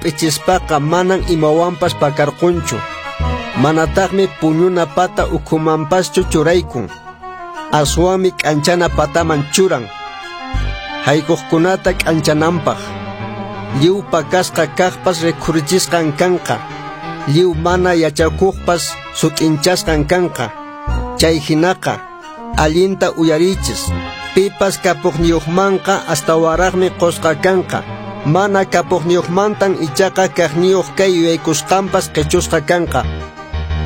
P'ichispaqa manan imawanpas pakarqunchu. Manataqmi puñuna pata ukhumanpaschu churaykun. Aswanmi k'anchana pataman churan, haykuqkunata k'anchananpaq. Lliw pakasqa kaqpas rikhurichisqan kanqa. Lliw mana yachakuqpas sut'inchasqan kanqa. Chay hinaqa, allinta uyariychis. Pipas kapuqniyuqmanqa astawanraqmi qusqa kanqa. Mana kapuqniyuqmantan ichaqa kaqniyuq kay yuyaykusqanpas qichusqa kanqa.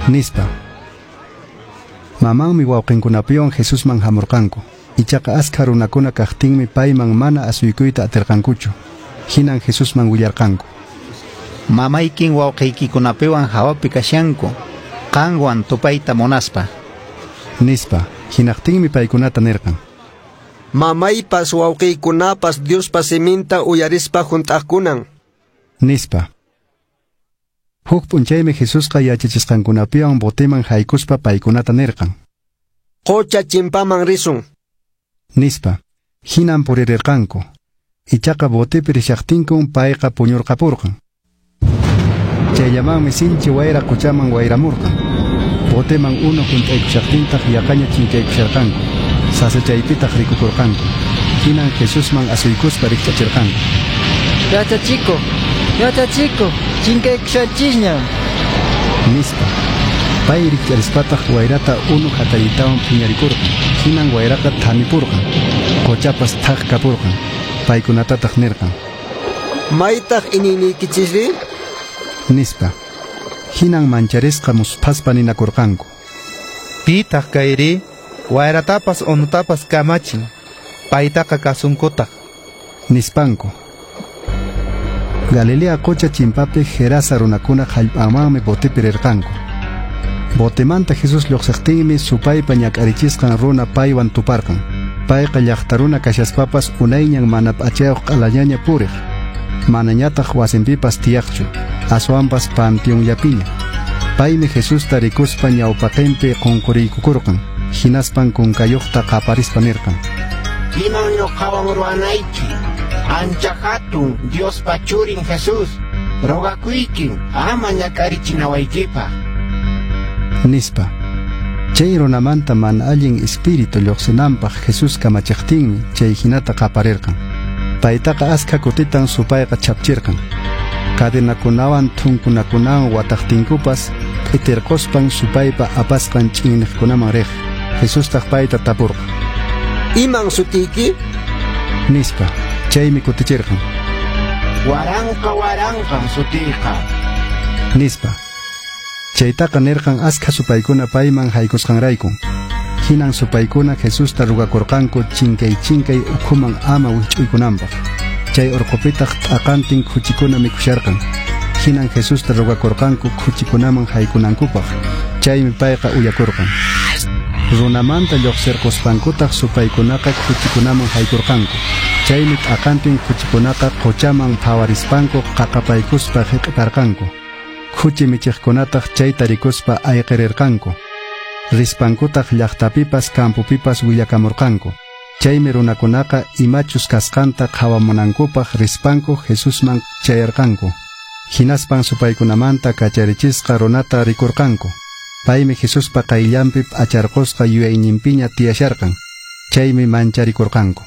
Nispa. Mamanmi wawqinkunapiwan Jesusman hamurqanku. Ichaqa askha runakuna kaqtinmi payman mana asuykuyta atirqankuchu. Hinan Jesusman willarqanku. Mamaykin wawqiykikunapiwan hawapi kashanku, qanwan tupayta munaspa. Nispa. Hinaqtinmi paykunata nirqan. Mamaypas wawqiykunapas Diospa siminta uyarispa hunt'aqkunan. Nispa. Huk p'unchaymi Jesusqa yachachisqankunapiwan boteman haykuspa paykunata nirqan. Qocha chimpaman risun. Nispa. Hinan puririrqanku. Ichaqa botepi rishaqtinkun payqa puñurqapurqan. Chayllamanmi sinchi wayra qochaman wayramurqan. Boteman unu hunt'aykushaqtintaq yaqaña chinkaykusharqanku. Sasachaypitaq rikukurqanku. Hinan Jesusman asuykuspa rikch'achirqanku. Yachachikuq, yachachikuq, chinkaykushanchisñan. Nispa. Pay rikch'arispataq wayrata unu hatariytawan phiñarikurqan. Hinan wayraqa thanipurqan. Qochapas thak kapurqan. Paykunatataq nirqan. Maytaq iñiyniykichisri? Nispa. Hinan mancharisqa musphaspa ninakurqanku. Pitaq kayri? Wayratapas unutapas kamachin. Paytaqa kasunkutaq. Nispanku. Galilea qocha chimpapi Gerasa runakuna hallp'amanmi botepi rirqanku. Botemanta Jesús lluqsiqtinmi supaypa ñak'arichisqan runa paywan tuparqan. Payqa llaqta runa kashaspapas unayñan mana p'achayuq q'alañaña puriq. Manañataq wasinpipas tiyaqchu, aswanpas panteonllapiña. Paymi Jesusta rikuspa ñawpaqinpi qunquriykukurqan. Hinaspan kunkayuqta qaparispa nirqan. Iman ñuqawan ruwanayki? Ancha hatun Diospa churin Jesús, rogakuykin ama ñak'arichinawaykipaq. Nispa. Chay runamanta mana allin espíritu lluqsinanpaq Jesús kamachiqtinmi chay hinata qaparirqan. Paytaqa askha kutitan supayqa chapchirqan. Cadenakunawan thunkunakunawan wataqtinkupas p'itirquspan supaypa apasqan ch'inniqkunaman riq. Jesustaq payta tapurqan. Iman sutiyki? Nispa. Chaymi kutichirqan. Waranqa waranqan sutiyqa. Nispa. Chaytaqa nirqan askha supaykuna payman haykusqanraykun. Hinan supaykuna Jesusta rugakurqanku chinkay chinkay ukhuman ama wich'uykunanpaq. Chay urqupitaq t'aqantin khuchikuna mikhusharqan. Hinan Jesusta rugakurqanku khuchikunaman haykunankupaq. Chaymi payqa uyakurqan. Runamanta lluqsirquspankutaq supaykunaqa khuchikunaman haykurqanku. Chaymi t'aqantin khuchikunaqa qochaman phawarispanku qaqapaykuspa hiq'iparqanku. Khuchi michiqkunataq chayta rikuspa ayqirirqanku. Rispankutaq llaqtapipas campopipas willakamurqanku. Chaymi runakunaqa imachus kasqanta qhawamunankupaq rispanku Jesusman chayarqanku. Hinaspan supaykunamanta kacharichisqa runata rikurqanku. Paymi Jesuspa qayllanpi p'acharqusqa yuyayninpiña tiyasharqan. Chaymi mancharikurqanku.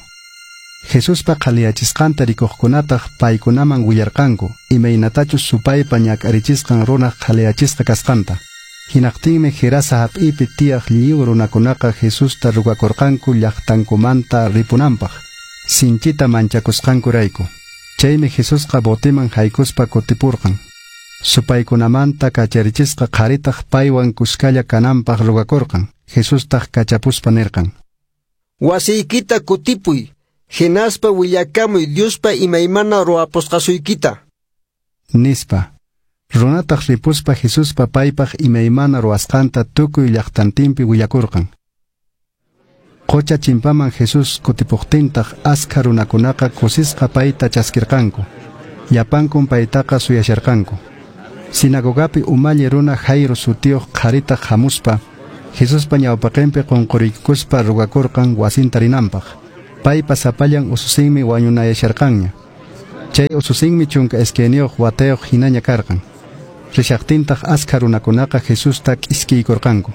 Jesuspa qhaliyachisqanta rikuqkunataq paykunaman willarqanku imaynatachus supaypa ñak'arichisqan runaq qhaliyachisqa kasqanta. Hinaqtinmi Gerasa hap'ipi tiyaq lliw runakunaqa Jesusta rugakurqanku llaqtankumanta ripunanpaq, sinchita manchakusqankurayku. Chaymi Jesusqa boteman haykuspa kutipurqan. Supaykunamanta kacharichisqa qharitaq paywan kuskalla kananpaq rugakurqan. Jesustaq kachapuspa nirqan. Wasiykita kutipuy, hinaspa willakamuy Diospa imaymana ruwapusqasuykita. Nispa. Runataq ripuspa Jesuspa paypaq imaymana ruwasqanta tukuy llaqtantinpi willakurqan. Qocha chimpaman Jesús kutipuqtintaq askha runakunaqa kusisqa payta chaskirqanku. Llapankun paytaqa suyasharqanku. Sinagogapi umalli runa Jairo sutiyuq qharitaq hamuspa Jesuspa ñawpaqinpi qunquriykuspa rugakurqan wasinta rinanpaq. Paypa sapallan ususinmi wañunayasharqanña. Chay ususinmi 12 watayuq hinaña karqan. Rishaqtintaq askha runakunaqa Jesusta k'iskiykurqanku.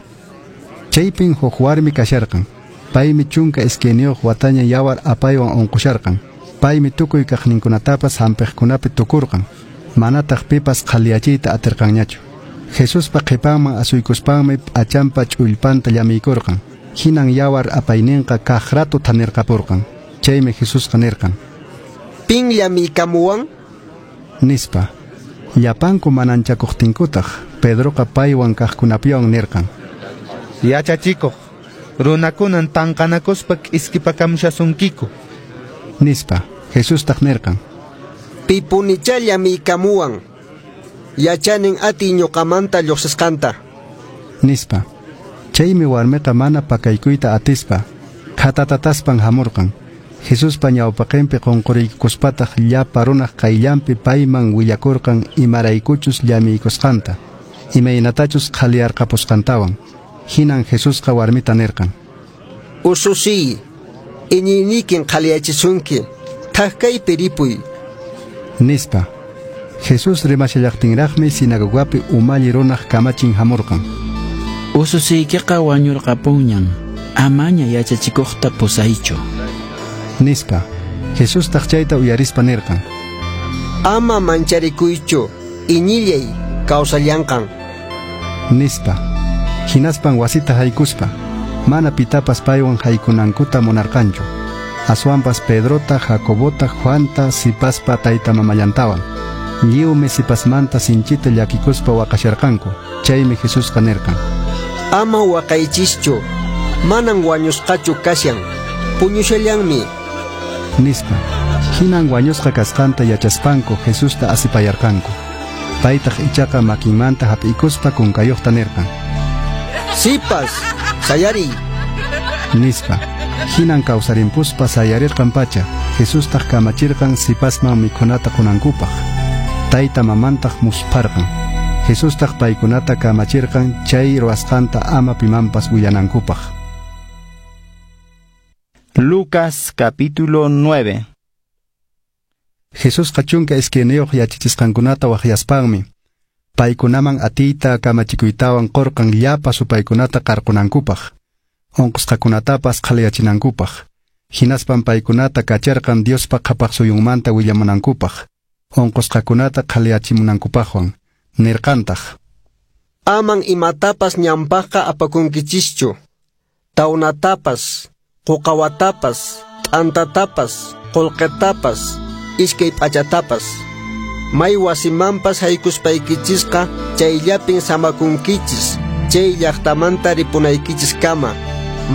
Chaypin huk warmi kasharqan. Paymi 12 wataña yawar apaywan unqusharqan. Paymi tukuy kaqninkunatapas hampiqkunapi tukurqan. Manataq pipas qhaliyachiyta atirqanñachu. Jesuspa qhipanman asuykuspanmi p'achanpa ch'ullpanta llamiykurqan. Hinan yawar apayninqa kaq rato thanirqapurqan. Chaymi Jesusqa nirqan: Pin llamiykamuwan? Nispa. Llapanku mananchakuqtinkutaq Pedroqa paywan kaqkunapiwan nirqan: Yachachikuq, runakunan tanqanakuspa k'iskipakamushasunkiku. Nispa. Jesustaq nirqan: Pipunichá llamiykamuwan. Yachanin atiy ñuqamanta lluqsisqanta. Nispa. Chaymi warmiqa mana pakaykuyta atispa khatatataspan hamurqan. Jesuspa ñawpaqinpi qunquriykuspataq llapa runaq qayllanpi payman willakurqan imaraykuchus llamiykusqanta, imaynatachus qhaliyarqapusqantawan. Hinan Jesusqa warmita nirqan: Ususiy, iñiynikin qhaliyachisunki, thak kaypi ripuy. Nispa. Jesús rimashallaqtinraqmi sinagogapi umalli runaq kamachin hamurqan. Ususiykiqa wañurqapunñan, amaña yachachikuqta pusaychu. Nispa. Jesustaq chayta uyarispa nirqan: Ama mancharikuychu, iñillay kawsallanqan. Nispa. Hinaspan wasita haykuspa, mana pitapas paywan haykunankuta munarqanchu. Aswanpas Pedrota, Jacobota, Juanta, sipaspa tayta mamallantawan. Lliwmi sipasmanta sinchita llakikuspa waqasharqanku. Chaymi Jesusqa nirqan: Ama waqaychischu, manan wañusqachu kashan, puñushallanmi. Nispa. Hinan wañusqa kasqanta yachaspanku Jesusta asipayarqanku. Paytaq ichaqa makinmanta hap'ikuspa kunkayuqta nirqan: Sipas, sayariy. Nispa. Hinan kawsarimpuspa sayarirqan pacha. Jesustaq kamachirqan sipasman mikhunata qunankupaq. Tayta mamantaq muspharqan. Jesustaq paykunata kamachirqan chay ruwasqanta ama pimanpas willanankupaq. Lucas capítulo 9. Jesusqa 12 yachachisqankunata waqyaspanmi paykunaman atiyta kamachikuytawan qurqan llapa supaykunata qarqunankupaq, unqusqakunatapas qhaliyachinankupaq. Hinaspan paykunata kacharqan Diospa qhapaq suyunmanta willamunankupaq, unqusqakunata qhaliyachimunankupaqwan. Nirqantaq: Aman imatapas ñanpaqqa apakunkichischu, tawnatapas, quqawatapas, t'antatapas, qullqitapas, iskay p'achatapas. May wasimanpas haykuspaykichisqa chayllapin samakunkichis, chay llaqtamanta ripunaykichiskama.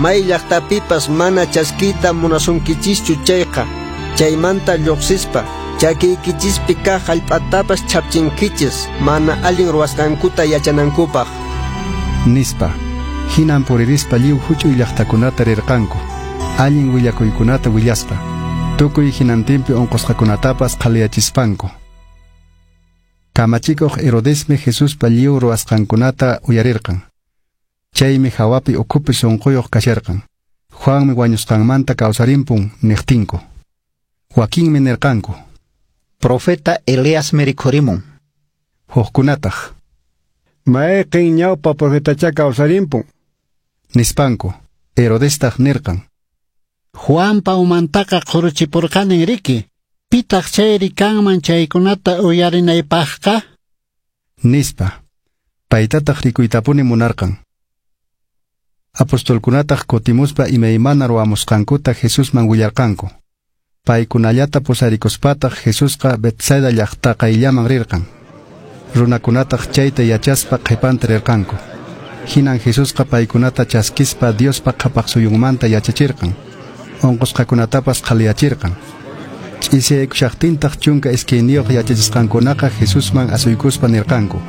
May llaqtapipas mana chaskiyta munasunkichischu chayqa, chaymanta lluqsispa chakiykichispi kaq hallp'atapas chhapchinkichis mana allin ruwasqankuta yachanankupaq. Nispa. Hinan puririspa lliw huch'uy llaqtakunata rirqanku, allin willakuykunata willaspa, tukuy hinantinpi unqusqakunatapas qhaliyachispanku. Kamachikuq Herodesmi Jesuspa lliw ruwasqankunata uyarirqan. Chaymi hawapi ukhupi sunquyuq kasharqan. Juanmi wañusqanmanta kawsarimpun niqtinku. Wakinmi nirqanku: Profeta Eliasmi rikhurimun. Hukkunataq: Mayqin ñawpa profetacha kawsarimpun. Nispanku. Herodestaq nirqan: Juanpa umantaqa qhuruchipurqanin riki. Pitaq chayri kanman chaykunata uyarinaypaqqa? Nispa. Paytataq rikuytapuni munarqan. Apostolkunataq kutimuspa imaymana ruwamusqankuta Jesusman willarqanku. Paykunallata pusarikuspataq Jesusqa Betsaida llaqta qayllaman rirqan. Runakunataq chayta yachaspa qhipanta rirqanku. Hinan Jesusqa paykunata chaskispa Diospa qhapaq suyunmanta yachachirqan. Unqusqakunatapas qhaliyachirqan. Ch'isiyaykushaqtintaq 12 yachachisqankunaqa Jesusman asuykuspa nirqanku: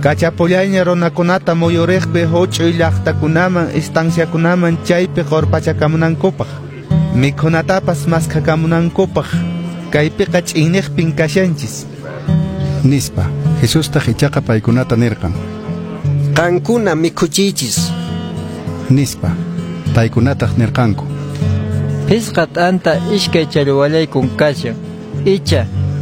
Kachapullayña runakunata muyuriqpi huch'uy llaqtakunaman, estanciakunaman chaypi qurpachakamunankupaq, mikhunatapas maskhakamunankupaq, kaypiqa ch'inniqpin kashanchis. Nispa. Jesustaq ichaqa paykunata nirqan: Qankuna mikhuchiychis. Nispa. Paykunataq nirqanku: Phisqa t'anta iskay challwallaykun kashan, icha